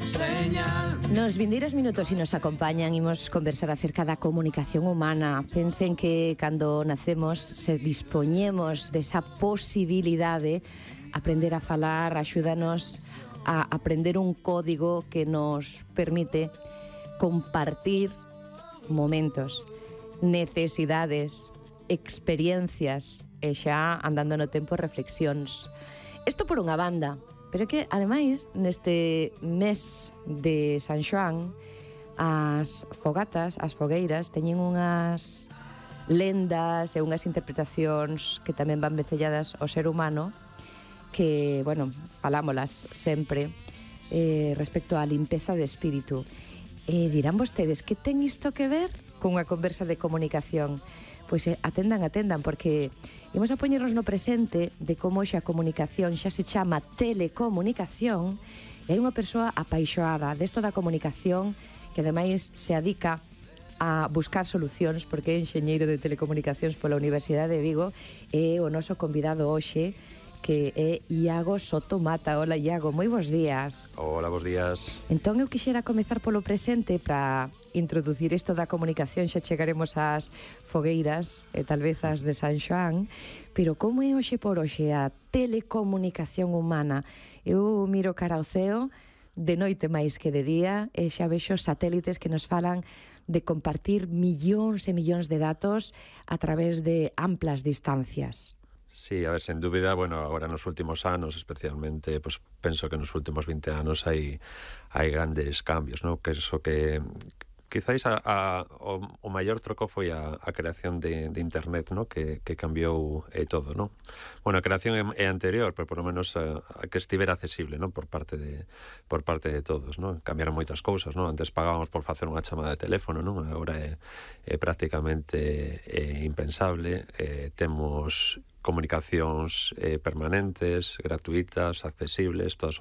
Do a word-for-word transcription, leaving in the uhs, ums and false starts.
señal. Nos vindeiros minutos e nos acompañan imos conversar acerca da comunicación humana. Pensen que cando nacemos se dispoñemos desa posibilidade aprender a falar, axúdanos a aprender un código que nos permite compartir momentos, necesidades, experiencias e xa andando no tempo reflexións. Isto por unha banda, pero que, ademais, neste mes de San Xoán, as fogatas, as fogueiras, teñen unhas lendas e unhas interpretacións que tamén van vecelladas ao ser humano, que, bueno, falámolas sempre eh, respecto á limpeza de espírito. E dirán vostedes, que ten isto que ver cunha conversa de comunicación? Pois eh, atendan, atendan, porque imos a poñernos no presente de como xa a comunicación xa se chama telecomunicación e hai unha persoa apaixoada desto da comunicación que ademais se adica a buscar solucións porque é enxeñeiro de telecomunicacións pola Universidade de Vigo e o noso convidado hoxe que é Iago Soto Mata. Hola, Iago, moi bons días. Hola, bons días. Entón, eu quixera comezar polo presente para introducir isto da comunicación, xa chegaremos ás fogueiras e tal vez ás de San Xoán, pero como é hoxe por hoxe a telecomunicación humana? Eu miro cara ao ceo, de noite máis que de día, e xa vexo satélites que nos falan de compartir millóns e millóns de datos a través de amplas distancias. Sí, a ver, sen dúbida, bueno, agora nos últimos anos, especialmente, pues, penso que nos últimos vinte anos hai hai grandes cambios, ¿no? Que eso que quizáis a, a, o, o maior troco foi a, a creación de, de Internet, ¿no? Que, que cambiou eh, todo, ¿no? Bueno, a creación é, é anterior, pero por lo menos a, a que estivera accesible, ¿no? Por parte de por parte de todos, ¿no? Cambiaron moitas cousas, ¿no? Antes pagábamos por facer unha chamada de teléfono, ¿no? Agora é, é prácticamente é impensable. Eh, temos comunicacións eh, permanentes, gratuitas, accesibles, todas